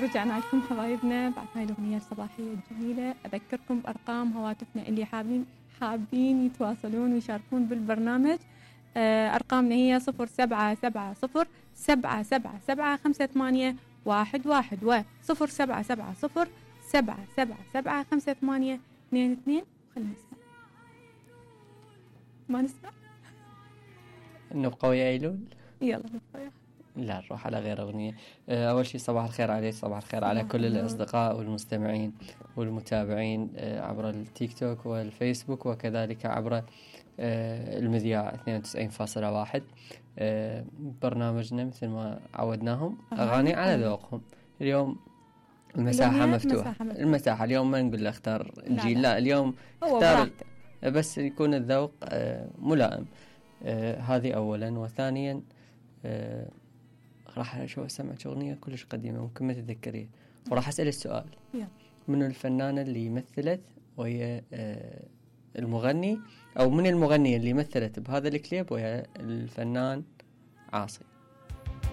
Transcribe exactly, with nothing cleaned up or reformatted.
ورجعنا لكم حبايبنا بعد هاي الأغنية الصباحية الجميلة. أذكركم بأرقام هواتفنا اللي حابين حابين يتواصلون ويشاركون بالبرنامج. أرقامنا هي صفر سبعة سبعة صفر سبعة سبعة سبعة خمسة ثمانية واحد واحد و صفر سبعة سبعة صفر سبعة سبعة سبعة خمسة ثمانية اثنين اثنين. خلينا نسمع. ما نسمع؟ نبقى ويا أيلول؟ يلا نبقى ويا. لا نروح على غير أغنية. أول شيء صباح الخير عليك، صباح الخير على كل الأصدقاء والمستمعين والمتابعين عبر التيك توك والفيسبوك وكذلك عبر المذياع اثنين وتسعين فاصلة واحد. برنامجنا مثل ما عودناهم أغاني على ذوقهم. اليوم المساحة مفتوحة. المساحة اليوم ما نقول له اختار الجيل، لا, لا اليوم اختار بس يكون الذوق ملائم. هذه أولا. وثانيا راح أشوف أسمعك أغنية كلش قديمة ممكن ما تتذكريها، وراح أسأل السؤال من الفنانة اللي مثلت وهي المغني، أو من المغنية اللي مثلت بهذا الكليب وهي الفنان عاصي.